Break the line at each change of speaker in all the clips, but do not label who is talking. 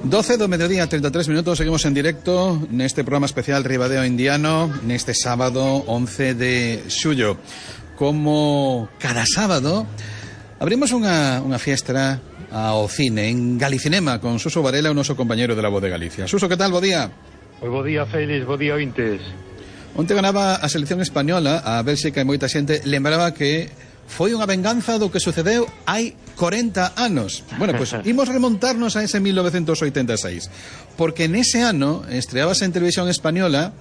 12 do mediodía, 33 minutos, seguimos en directo neste programa especial Ribadeo Indiano neste sábado 11 de xullo. Como cada sábado abrimos unha fiestra ao cine en Galicinema con Suso Varela, o noso compañeiro de La Voz de Galicia. Suso, que tal? Bo día.
Bo día, Félix, bo día, ointes.
Onte ganaba a selección española, a Bélxica, e moita xente lembraba que foi unha venganza do que sucedeu hai 40 anos. Bueno, pois imos remontarnos a ese 1986, porque nese ano estreábase en televisión española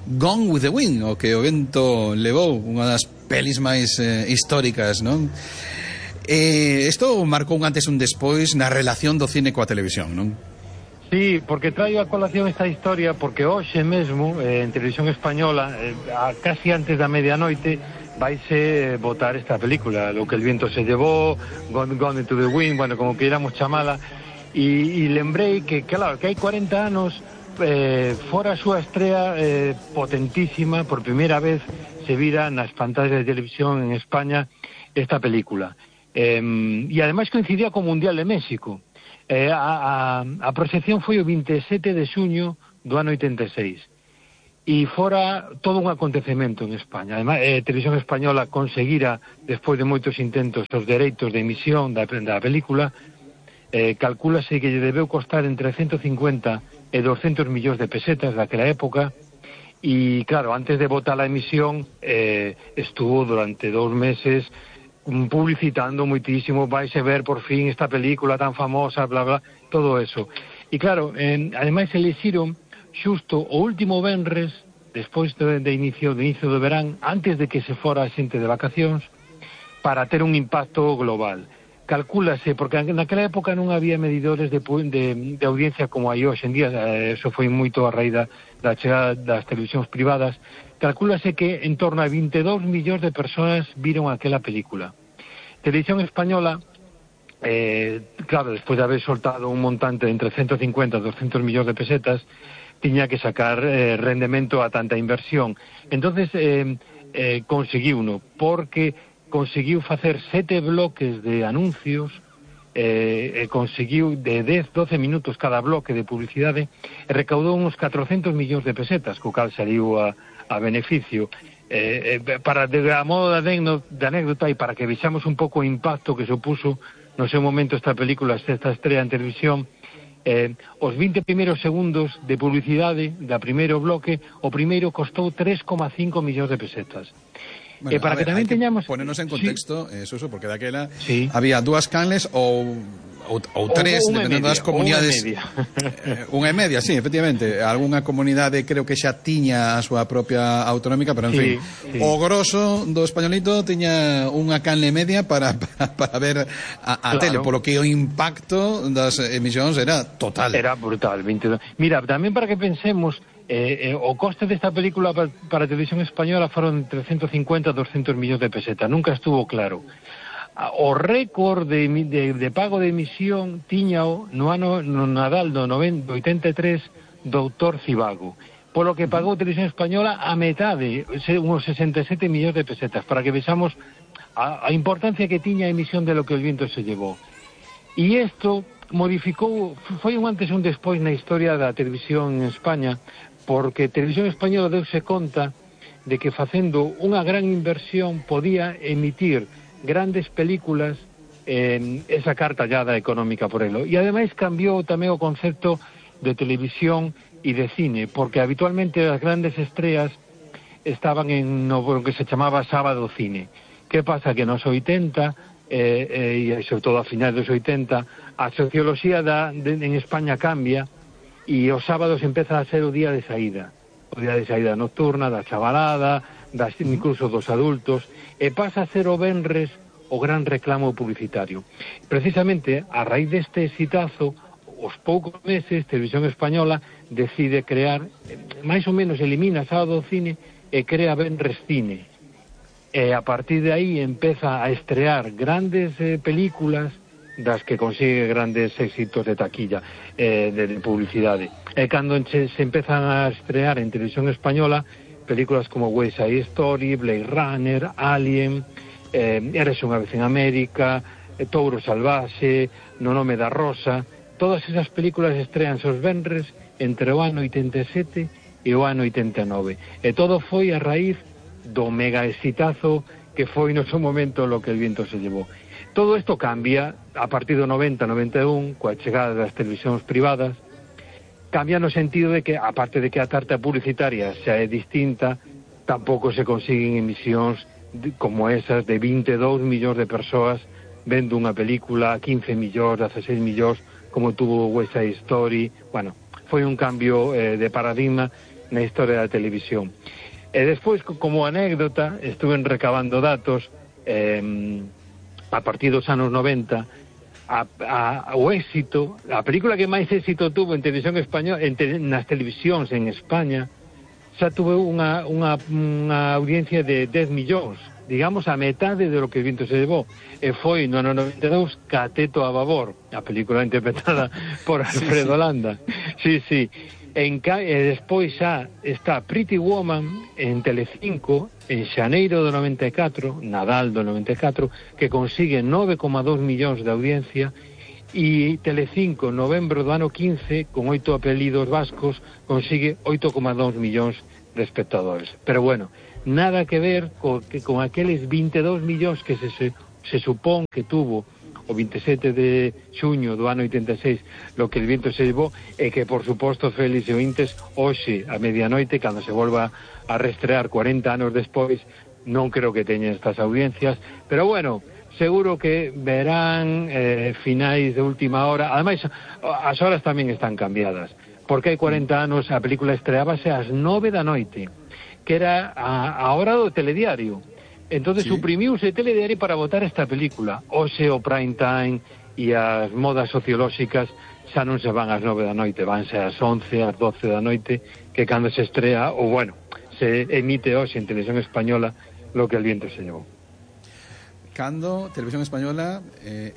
Gone with the Wind, o que o vento levou, unha das pelis máis históricas, non? Isto marcou un antes e un despois na relación do cine coa televisión, non?
Sí, porque traio a colación esta historia porque hoxe mesmo en televisión española, casi antes da medianoite, vaise votar esta película, Lo que el viento se llevó, Gone to the Wind, bueno, como queiramos chamala, e lembrei que, claro, que hai 40 anos fora a súa estrea potentísima, por primeira vez se vira nas pantallas de televisión en España esta película, e ademais coincidía co Mundial de México. A proxección foi o 27 de xuño do ano 86 e fora todo un acontecemento en España. Ademais, Televisión Española conseguira, despois de moitos intentos, os dereitos de emisión da película. Calcúlase que lle debeu costar entre 150 e 200 millóns de pesetas daquela época, e claro, antes de botar a emisión estuvo durante 2 meses publicitando moitísimo, vaise ver por fin esta película tan famosa, bla bla, todo eso. E claro, ademais elixiron xusto o último venres, despois de inicio do verán, antes de que se fora a xente de vacacións, para ter un impacto global. Calcúlase, porque naquela época non había medidores de audiencia como hai hoxe en día, eso foi moito a raíz da chegada das televisións privadas. Calcúlase que en torno a 22 millóns de persoas viron aquela película. Televisión Española, claro, despois de haber soltado un montante entre 150 e 200 millóns de pesetas, tiña que sacar rendemento a tanta inversión. Entonces conseguiuno, porque conseguiu facer 7 bloques de anuncios, conseguiu de 10-12 minutos cada bloque de publicidade, e recaudou uns 400 millóns de pesetas, co cal saliu a beneficio. Para a modo de anécdota, e para que vexamos un pouco o impacto que supuso no seu momento esta película, esta estrella en televisión, os 20 primeiros segundos de publicidade da primeiro bloque, o primeiro costou 3,5 millóns de pesetas.
Bueno,
para que tamén teñamos...
Ponernos en contexto, sí. Eso, porque daquela
sí.
Había 2 canles ou 3, dependendo das comunidades. Unha e media, sí, efectivamente. Algúnha comunidade creo que xa tiña a súa propia autonómica, pero en fin, sí. O grosso do españolito tiña unha canle media para ver a claro. Tele, polo que o impacto das emisións era total.
Era brutal, 22. Mira, tamén para que pensemos, o coste desta película para a televisión española foron 350 a 200 millóns de pesetas, nunca estuvo claro. O récord de pago de emisión tiñao no Nadal do 83 doutor Cibago, polo que pagou Televisión Española a metade, uns 67 millóns de pesetas, para que vexamos a importancia que tiña a emisión de Lo que el viento se llevó. E isto modificou, foi un antes e un despois na historia da televisión en España, porque Televisión Española deuse conta de que facendo unha gran inversión podía emitir grandes películas e sacar tallada económica por elo. E ademais cambiou tamén o concepto de televisión e de cine, porque habitualmente as grandes estreas estaban en no que se chamaba sábado cine. Que pasa? Que nos 80 e sobre todo a finais dos 80 a socioloxía en España cambia e os sábados empeza a ser o día de saída nocturna, da chavalada, incluso dos adultos, e pasa a ser o venres o gran reclamo publicitario. Precisamente, a raíz deste exitazo, os poucos meses, Televisión Española decide crear, máis ou menos elimina Sábado Cine e crea Venres Cine. E a partir de aí empeza a estrear grandes películas das que consigue grandes éxitos de taquilla, de publicidade. E cando se empezan a estrear en Televisión Española películas como West Side Story, Blade Runner, Alien, Eres unha vez en América, Touro Salvaxe, No nome da Rosa, todas esas películas estrean os venres entre o ano 87 e o ano 89. E todo foi a raíz do mega exitazo que foi no seu momento Lo que el viento se llevó. Todo isto cambia a partir do 90-91, coa chegada das televisións privadas. Cambia no sentido de que, aparte de que a tarta publicitaria xa é distinta, tampouco se consiguen emisións como esas de 22 millóns de persoas vendo unha película, 15 millóns, 16 millóns, como tuvo West Side Story. Bueno, foi un cambio de paradigma na historia da televisión. E despois, como anécdota, estuve recabando datos a partir dos anos 90, o éxito, a película que máis éxito tuvo en televisión española, nas televisións en España, xa tuve unha audiencia de 10 millóns, digamos a metade de Lo que el viento se llevó, e foi no ano 92 Cateto a babor, a película interpretada por Alfredo Landa. Sí, sí. E despois xa está Pretty Woman en Telecinco en xaneiro do 94, Nadal do 94, que consigue 9,2 millóns de audiencia, e Telecinco, novembro do ano 15, con 8 apelidos vascos, consigue 8,2 millóns de espectadores. Pero bueno, nada que ver con aqueles 22 millóns que se supón que tuvo o 27 de xuño do ano 86 Lo que el viento se llevó, e que, por suposto, Félix e ointes, hoxe, a medianoite, cando se volva a restrear 40 anos despois, non creo que teña estas audiencias, pero bueno, seguro que verán finais de última hora. Ademais, as horas tamén están cambiadas, porque hai 40 anos a película estreábase ás 9 da noite, que era a hora do telediario. Entonces suprimiuse o telediario para botar esta película. Hoxe o prime time e as modas sociolóxicas xa non se van ás 9 da noite, vanse ás 11, ás 12 da noite, que cando se estrea, ou bueno, se emite hoxe en Televisión Española Lo que el viento se llevó.
Cando Televisión Española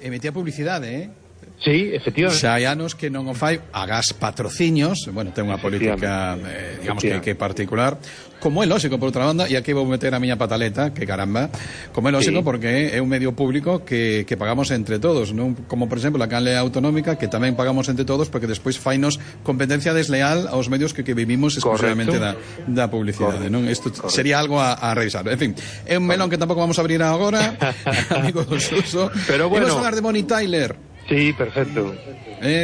emitía publicidade,
Sí, efectivamente.
Xa hai anos que non o fai, agás patrociños, bueno, ten unha política, digamos que particular, como é lógico, por outra banda, e aquí vou meter a miña pataleta, que caramba, como é lógico, porque é un medio público que pagamos entre todos, non? Como, por exemplo, a canle autonómica, que tamén pagamos entre todos, porque despois fainos competencia desleal aos medios que vivimos exclusivamente da publicidade, non? Isto sería algo a revisar. En fin, é un melón que tampouco vamos a abrir agora, amigo do Suso.
Pero bueno,
imos falar de Bonnie Tyler.
Sí, perfecto.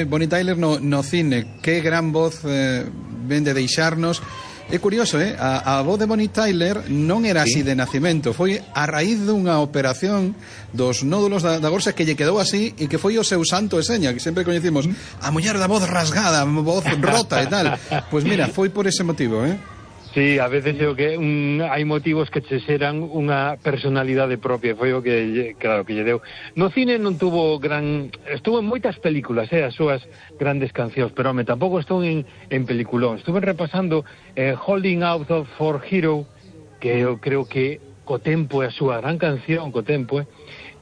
Bonnie Tyler no cine, que gran voz ven de deixarnos. É curioso, a voz de Bonnie Tyler non era así de nacimento, foi a raíz dunha operación dos nódulos da gorxa que lle quedou así, e que foi o seu santo e seña, que sempre coñecimos a muller da voz rasgada, voz rota e tal. Pois mira, foi por ese motivo,
Sí, a veces digo que hai motivos que che xeran unha personalidade propia, foi o que, claro, que lle deu. No cine non tuvo estuvo en moitas películas, as súas grandes cancións, pero tampouco estou en peliculón. Estuve repasando Holding Out for Hero, que eu creo que co tempo é a súa gran canción, co tempo,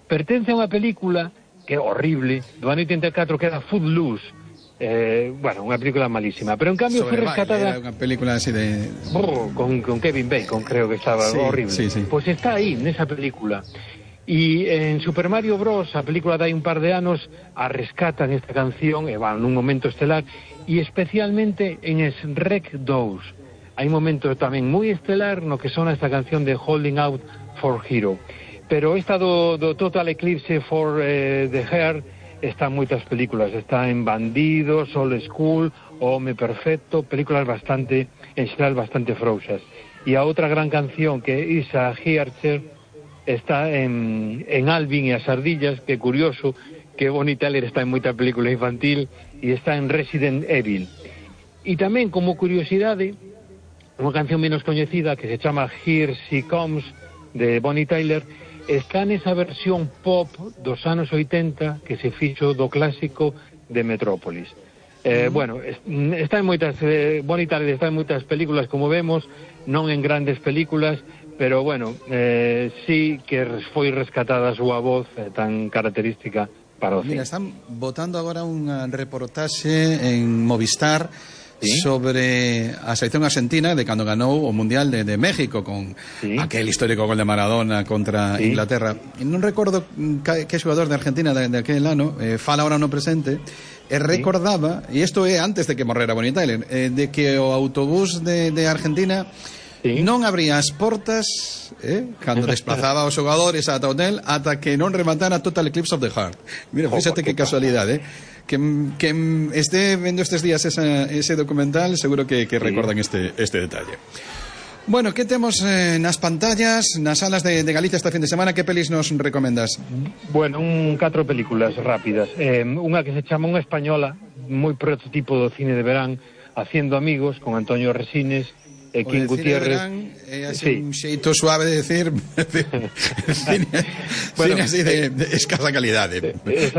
pertence a unha película que é horrible, do ano 84, que era Footloose. Bueno, unha película malísima, pero en cambio foi rescatada.
Era unha película así de
con Kevin Bacon, creo que estaba horrible.
Sí.
Pues está aí, nesa película. E en Super Mario Bros, a película de hai un par de anos, a rescatan esta canción, e van nun momento estelar, e especialmente en Shrek 2. Hai momentos tamén moi estelar no que sona esta canción de Holding Out for Hero. Pero esta do Total Eclipse for the Heart está en moitas películas, está en Bandidos, Old School, Home Perfecto, películas bastante, en xeral, bastante frouxas. E a outra gran canción, que é Isa Hearcher, está en Alvin e as ardillas, que é curioso que Bonnie Tyler está en moita película infantil, e está en Resident Evil. E tamén, como curiosidade, unha canción menos coñecida que se chama Here She Comes, de Bonnie Tyler, está nesa versión pop dos anos 80 que se fixo do clásico de Metrópolis. Bueno, está en moitas Bonnie Tyler está en moitas películas, como vemos, non en grandes películas, pero bueno, sí que foi rescatada a súa voz tan característica para o cine.
Mira, están botando agora unha reportaxe en Movistar sobre a selección argentina de cando ganou o Mundial de México con aquel histórico gol de Maradona contra Inglaterra. E non recordo que xogador de Argentina de aquel ano fala ahora no presente e recordaba, e isto é antes de que morrera Bonnie Tyler, de que o autobús de Argentina non abría as portas cando desplazaba os xogadores ata o hotel ata que non rematara Total Eclipse of the Heart. Mira, fíxate que casualidade, que esté vendo estes días ese documental seguro que recordan este detalle. Bueno, que temos nas pantallas, nas salas de Galicia esta fin de semana? Que pelis nos recomendas?
Bueno, 4 películas rápidas. Unha que se chama Unha española, moi prototipo do cine de verán, Haciendo amigos, con Antonio Resines e King Gutiérrez.
É así un xeito suave de decir cine así de escasa calidade,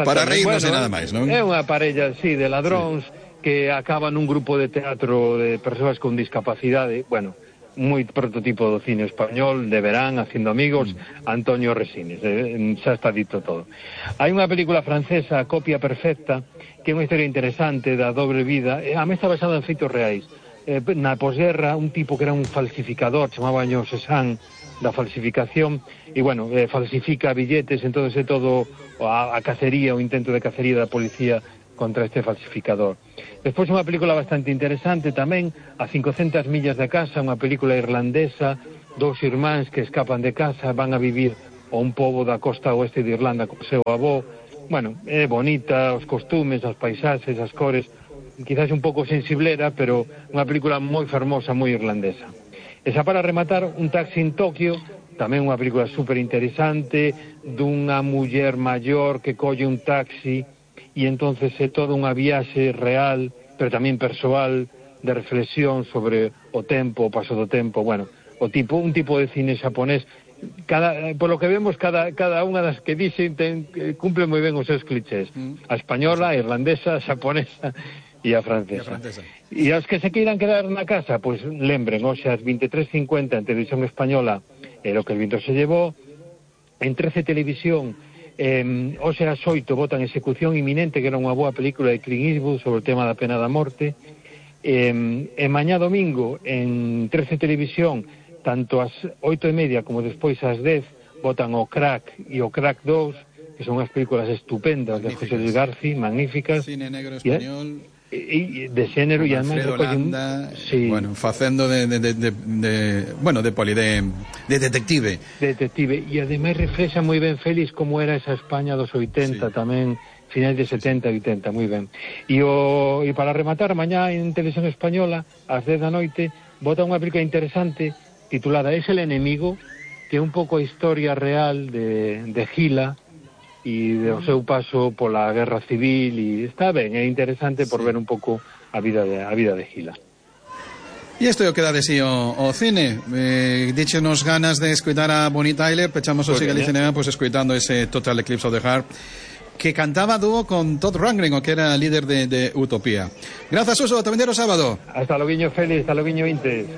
para reírnos e nada máis, non?
É unha parella así de ladróns que acaban nun grupo de teatro de persoas con discapacidade. Bueno, moi prototipo do cine español de verán, Haciendo amigos, Antonio Resines, xa está dito todo. Hai unha película francesa, Copia perfecta, que é unha historia interesante da dobre vida, a mí está basada en feitos reais. Na posguerra, un tipo que era un falsificador, chamabaño Cézanne, da falsificación, e bueno, falsifica billetes, entonces é todo a cacería, o intento de cacería da policía contra este falsificador. Despois unha película bastante interesante tamén, A 500 millas de casa, unha película irlandesa, 2 irmáns que escapan de casa, van a vivir a un pobo da costa oeste de Irlanda co seu avó. Bueno, é bonita, os costumes, as paisaxes, as cores, quizás un pouco sensiblera, pero unha película moi fermosa, moi irlandesa. E xa para rematar, Un taxi en Tokio, tamén unha película super interesante, dunha muller maior que colle un taxi e entonces é toda unha viaxe real, pero tamén persoal, de reflexión sobre o tempo, o paso do tempo. Bueno, un tipo de cine xaponés, por lo que vemos, cada unha das que dixen cumple moi ben os seus clichés. A española, a irlandesa, a xaponesa e a francesa. E aos que se queiran quedar na casa, pois lembren, hoxe ás 23:50 en Televisión Española, Lo que el viento se llevó, en 13 Televisión, hoxe ás 8 votan Execución inminente, que era unha boa película de Clint Eastwood sobre o tema da pena da morte, e mañá domingo en 13 Televisión, tanto ás 8:30 como despois ás 10, votan o Crack e o Crack 2, que son unhas películas estupendas de José Luis Garci, magníficas.
Cine negro español.
E de xénero e además
bueno, facendo de detective
e ademais reflexa moi ben Félix como era esa España dos 80 tamén, finais de 70 e 80, moi ben. E para rematar, mañá en Televisión Española ás 10 da noite vota unha película interesante titulada Es el enemigo, que é un pouco a historia real de Gila e do seu paso pola guerra civil, e está ben, é interesante por ver un pouco a vida de Gila.
E isto é o que dá de sí o cine. Díchenos ganas de escoitar a Bonnie Tyler, pechamos o Galicia Cinema pois escoitando ese Total Eclipse of the Heart, que cantaba dúo con Todd Rundgren, o que era líder de Utopía. Grazas, Suso, tamén o sábado.
Hasta logo, Félix, hasta logo, Intes.